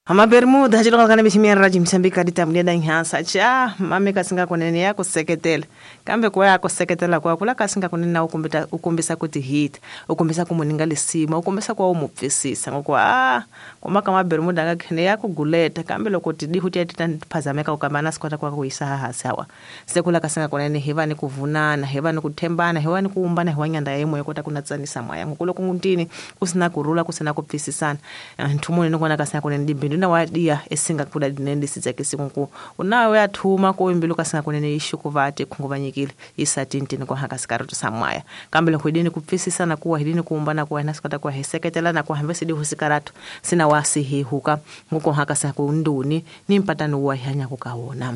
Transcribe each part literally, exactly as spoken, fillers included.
Amabermuda xilonga miximiyani ra Mozambique ditamulenda nhansa cha mame kasinga kunene ya ku seketela kambe ku ya ku seketela kwa kula kasinga kunene na u kombisa u kombisa ku tihita u kombisa ku muninga lisima u kombisa ku u mupfisisa ngoko a kuma ka mabermuda nga khene ya ku guleta kambe loko tidihu ti ta phazameka u kamba na sikota kwa ku yisa hansi hawa se kula kasinga kunene hi va ni ku vunana hi va ni ku thembana hi va ni ku umbana hi wa nyanda ya moya kota ku natsanisa moya ngoko loko ngutini ku sina kurula ku sina ku pfisisana nthumuni ni kona kasinga kunene dibindu na wa dia esinga kula dinene sitsakisi kunku unawe athuma ko imbilu kasinga kunene ishukuvate khunguvanyikile isatintini kwa haka sikarutu samwaya kambe loko hidini kupfisisana kuwa hidini kuumbana kuwa na sikota kwa heseketela na kwa hambe sidi husikaratu sina wasi hihuka nguko haka sakunduni ni mpatano wa hanya kukaona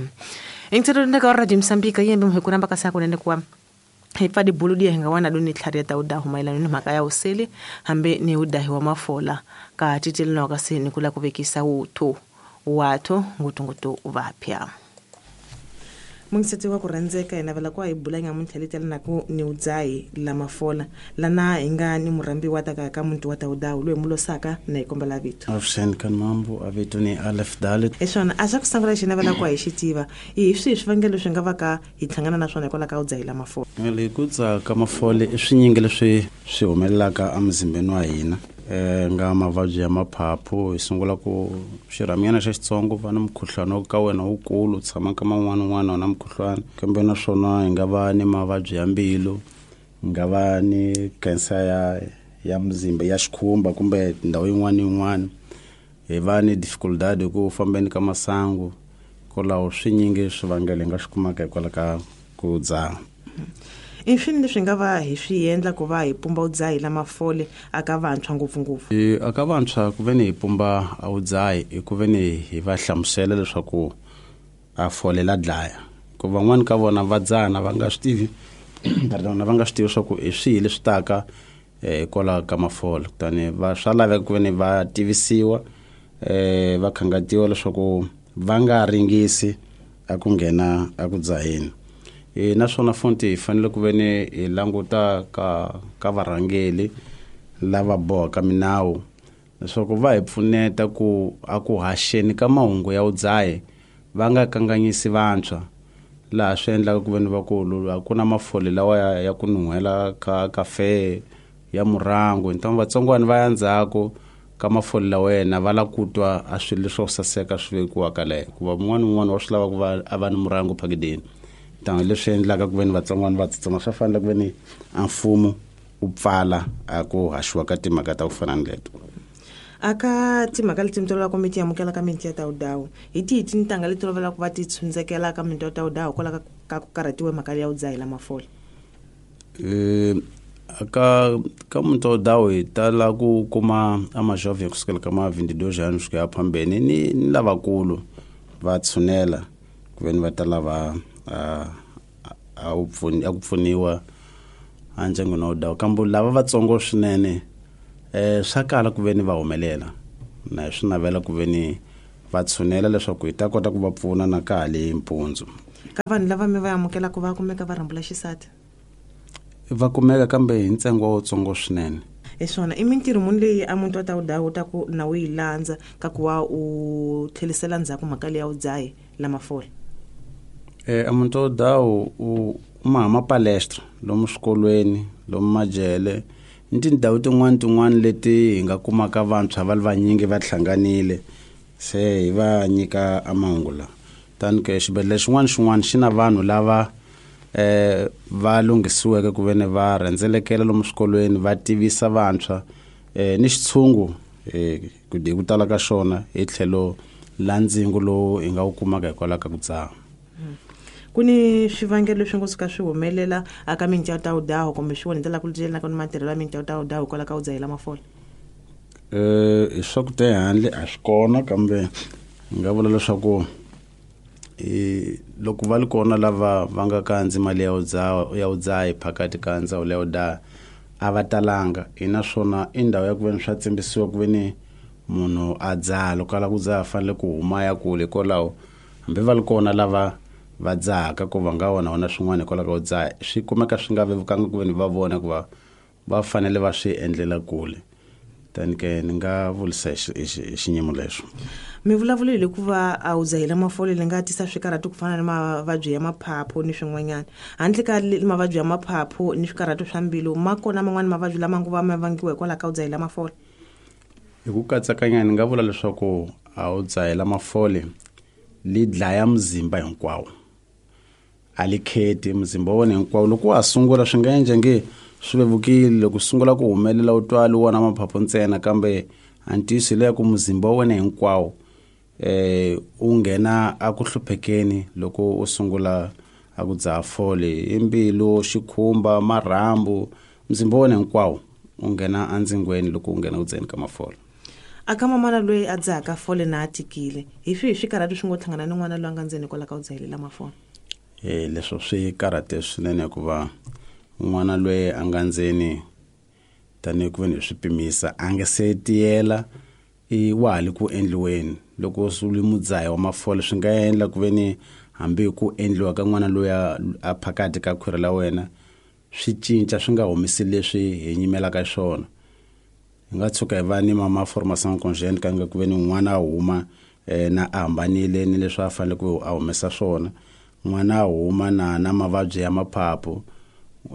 ingitero ndaka ra Mozambique yembe mhekuramba kasaka kunene kwa hifadi buludia hinga wana duni tlharia ta udahu mailano ni mhaka ya useli hambe ni udahi wa mafola ka titelino kasi ni kula kuvekisa uthu wathu ngutungutu vapya mungiseti wa ku rhandzeka hi navela ku hi bula nyamuntlha leti na ku ni udzai la mafola lana hi nga ni murhambi wa taka ka muntu wa ta udahu loyi mulosaka na hi kombela vito Afshen kan mambo avito ni Alef Dalit eswona a xa ku sungula xi navela ku hi xi tiva hi swihi swivangelo swi nga va ka hi hlangana na swona hikwalaho ka udzai la mafola le ku dzaha ka mafole i swinyingi leswi swi humelelaka emzimbeni wa hina eh nga mavabyi ya maphaphu hi sungula ku xirhaminyana xa xitsongo va na mukhuhlwana ka wena wukulu tshama ka man'wana n'wana na mukhuhlwana kambe naswona hi nga va ni mavabyi ya mbilu hi nga va ni cancer ya ya mzimba ya xikhumba kumbe ndhawu yin'wana yin'wana hi va ni difficulty ku fambeni ka masangu kwalaho swinyingi swivangelo hi nga swi kumaka hikwalaho ka ku dzaha. I swini leswi nga va hi swi endla ku va hi pumba udzahi la mafole aka vantshwa ngopfungopfu? E aka vantshwa ku ve ni hi pumba a udzahi hi ku ve ni hi va hlamusela leswaku a fole la dlaya ku van'wani ka vona va dzana va nga swi tivi pardon va nga swi tivi leswaku i swihi leswi taka hikwalaho ka mafole kutani va swa laveka ku ve ni va tivisiwa um va khangatiwa leswaku va nga ringisi a ku nghena a ku dzaheni. E naswona fonti hi fanele ku ve ni hi languta ka ka varhangeli lava bohaka minawu leswaku va hi pfuneta ku a ku haxeni ka mahungu ya udzahi va nga kanganyisi vantshwa laha swi endlaka ku ve ni vakulu a ku na mafole lawa ya, ya ku nuhela ka kafe ya murangu ntangu vatsongwana va ya ndzhaku ka mafole lawa yena va la ku twa a swilo leswo saseka swi vekiwaka leyo hikuva mun'wana un'wana wa swi lava ku va a va ni murangu phakideni tanga leswi endlaka ku ve ni vatsongwana va tsutsuma swa fanele ku ve ni a mfumo u pfala a ku haxiwa ka timhaka ta ku fana ni leto. Aka timhaka leti mi tolovela kumbe ti amukela ka minti ya ta udahu hi tihi tintangha leti tolovela ku va ti tshundzekela ka minti ya ta udahu hikwalaho ka ku karhatiwa mhaka ya udzahi la mafole? Um aka ka muntu wa udahu hi tala ku kuma a majovhe kusukela ka ma vinte e dois anos ku ya phambeni ni ni lavakulu va tshunela ku ve ni va ta lava a a u pfuni a ku pfuniwa a ndyangwini wa udahu kambe lava vatsongo swinene eh swa kala ku ve ni va humelela na swi navela ku ve ni va tshunela leswaku hi ta kota ku va pfuna na ka hali mpundzu. Ka vanhu lava mi va amukelaka va kumeka va rhambula xisati? Va kumeka kambe hi ntsengo wutsongo swinene. Eswona i mintirho muni leyi a muntu wa ta udahu u ta ku na u yi landza ka ku va u tlherisela ndzhaku mhaka leyi ya udzahi la mafole? Eh a muntu wa udahu u ma ma palestra lomu swikolweni lomu majele ni tindhawu tin'wana tin'wana leti hi nga kumaka vantshwa va li vanyingi va hlanganile se hi va nyika a mahungu lawa tani ke xibedhlele xin'wana xin'wana xi na vanhu lava eh va lunghisiweke ku ve ni va rhendzelekela lomu swikolweni va tivisa vantshwa eh ni xitshungu eh ku hi ku tala ka xona hi tlhelo la ndzingo lowu hi nga wu kumaka hikwalaho ka ku dzaha. Ku ni swivangelo leswi ngo suka swi humelela aka minti ya ta udahu kumbe swi vonetela ku llelaka ni matirhelo ya minti ya ta udahu hikwalaho ka u dzahela mafole? Eh hi swa ku ta handle a swi kona kambe hi nga vula leswaku i loko va li kona lava va nga kandzi mali ya udzaha ya udzahi phakati ka ndzawulo ya udaha a va talanga hi naswona i ndhawu ya ku ve ni swa tsimbisiwa ku ve ni munhu a dzaha loko a lava ku dzaha fanele ku huma ya kule hikwalaho hambi va li kona lava va dzahaka ku va nga wona wona swin'wana hikwalaho ka ku dzaha swi kumeka swi nga vevukanga ku ve ni va vona ku va va fanele va swi endlela kule tani ke ni nga vurisa hi xi- hi xi- hi xinyimo lexo. Mi vulavulile ku va a wu dzahile mafole li nga tisa swikarhato ku fana ni mavabyi ya maphaphu ni swin'wanyana. Handle ka mavabyi ya maphaphu ni swikarhato swa mbilu, ma kona man'wani mavabyi lama ngo va ma vangiwa hikwalaho ka u dzahela mafole? Hi ku katsakanya ni nga vula leswaku a wu dzahela mafole li dlaya muzimba hinkwawo. A li kheti muzimba wa wena hinkwawo. Loko wa ha sungula swi nga endla nge swi vevukile, loko sungula ku humelela u twa li wona maphaphu ntsena, kambe a ntiyiso hi leya ku muzimba wa wena hinkwawo eh u nghena a ku hluphekeni loko u sungula a ku dzaha fole. I mbilu, xikhumba, marhambu, muzimba wa wena hinkwawo u nghena endzingweni loko u nghena ku dzaheni ka mafole. A ka mamana loyi a dzahaka fole na a tikile, hi swihi swikarhato swi ngo hlangana ni n'wana loyi a nga ndzeni hikwalaho ka ku dzahelela mafole? Eh leswo swi karhate swinene hikuva n'wana loyi a nga ndzeni tanihi ku ve ni hi swi pimisa a nga se tiyela, i wa ha le ku endliweni. Loko swi ri mudzahi wa mafole swi nga endla ku ve ni hambi ku endliwa ka n'wana loyi a, a phakati ka khwiri la wena swi cinca, swi nga humesi leswi hi nyimelaka swona. Hi nga tshuka hi va ni ma malformation congénite ka nga ku ve ni n'wana a huma eh, na a hambanile ni leswi a fanele ku a humesa swona. N'wana a huma na na mavabyi ya maphaphu.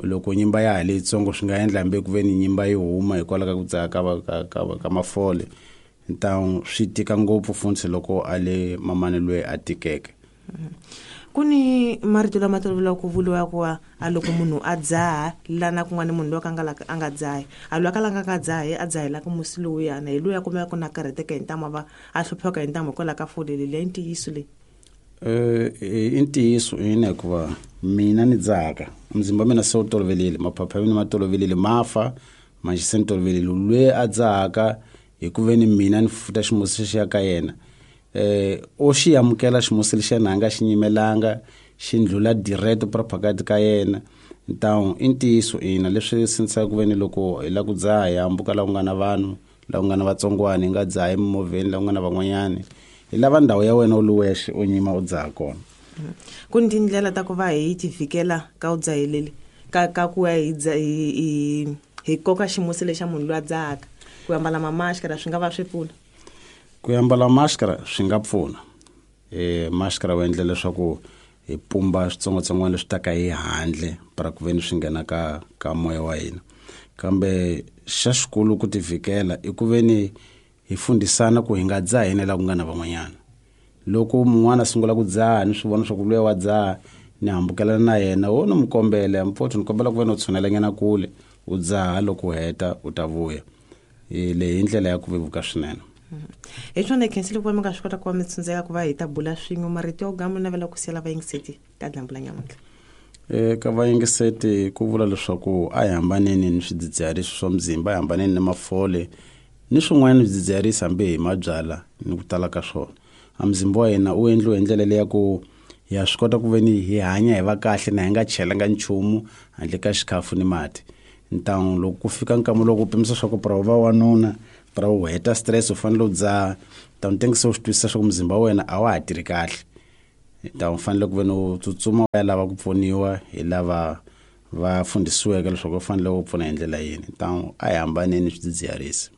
Loko nyimba ya ha leyitsongo swi nga endla hambi ku ve ni nyimba yi huma hikwalaho ka ku dzaha ka, ka, ka, ka mafole. Ntawu swi tika ngopfu funtsi loko a le mamani loyi a tikeke. Ku ni marito lama toloveleke ku vuriwa ku a loko munhu a dzaha lana kun'wana munhu loyi a nga a nga dzahi, a loyi a kalaka a nga dzahi a dzahelaka musi lowuyana hi loyi a kumeka ku na karhateka hi ntamu, a va a hlupheka hi ntamu hikwalaho ka fole leyi. I ntiyiso leyi? Eh, i ntiyiso ina, hikuva mina ni dzahaka muzimba wa mina se wu tolovelile, maphaphu ya mina ma tolovelile, ma fa manjhe se ni tolovelile. Loyi a dzahaka hi ku ve ni mina ni futa ximusi xi ya ka yena, eh o xi amukela ximusi lexiya na nga xi nyimelanga, xi ndlhula direct phakati ka yena. Ntawu i ntiyiso ina, leswi sindzisaka ku ve ni loko hi lava ku dzaha hi hambuka laha ku nga na vanhu, laha ku nga na vatsongwana, hi nga dzahi emimovheni laha ku nga na van'wanyani. Hi lava ndhawu ya wena u li wexe u nyima u dzaha kona. Ku ni tindlela ta ku va hi ti vhikela ka u dzaheleli ka ka ku ya hi dza hi hi hi koka ximusi lexa munhu loyi a dzahaka. Ku ambala mamaskara swi nga va swi pfuna? Ku ambala maskara swi nga pfuna. Eh maskara wu endla leswaku hi pumba switsongwatsongwana leswi taka hi handle para ku ve ni swi nghena ka ka moya wa hina. Kambe xa xikulu ku tivhikela i ku ve ni hi fundisana ku hi nga dzahi na laha ku nga na van'wanyana. Loko mun'wana a sungula ku dzaha ni swi vona swa ku luya wa dzaha, ni hambukelana na yena, wo ni mu kombela, mfowethu ni kombela ku ve ni u tshunelanyana kule u dzaha, loko u heta u ta vuya. Leyi i ndlela ya ku vevuka swinene. Hi swona hi khensile ku va mi nga swi kota ku va mi tshundzeka ku va hi ta bula swin'we. Marito yo gama navela ku siyela vayingiseti ka dyambu la nyamuntlha. Eka vayingiseti ku vula leswaku a hi hambaneni ni swidzidziharisi swa muzimba, a hi hambaneni ni mafole ni swin'wana swidzidziharisi hambi hi mabyala ni ku tala ka swona. A muzimba wa hina u endliwe hi ndlela leya ku ya swi kota ku ve ni hi hanya hi va kahle na hi nga chelanga nchumu handle ka xikhafu ni mati. Ntawu loko ku fika nkama loko u pimisa swa ku pra u va wanuna, pra u heta stress u fanele u dzaha, ntawu tengisa u swi twisisa swa ku muzimba wa wena a wa ha tirhi kahle. Ntawu u fanele ku ve ni u tsutsuma u ya lava ku pfuniwa hi lava va fundisiweke leswaku u fanele u pfuna hi ndlela yini. Ntawu a hi hambaneni swidzidziharisi.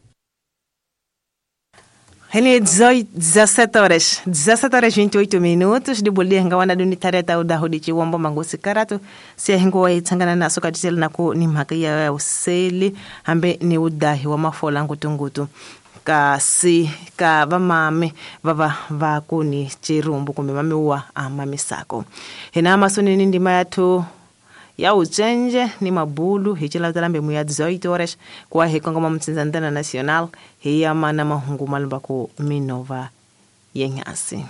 Hene dezoito horas, dezassete horas e vinte e oito minutos, de bolia nga wana duni tareta uda hodi chiwombo mangosi karatu, siya hingo wa itsangana na soka tisela na ku ni mhaka ya useli, hambe ni udahi wa mafola ngutungutu. Kasi ka vamame vava va kuni chirumbu kumbe mame wa amamisako. Hena masoni ni ndima yatu ya uchenje ni mabulu hichila talambe muya dezoito horas kwa hekongoma mtsinzandana national hiyama na mahungu malumba ku Minova yenyasi.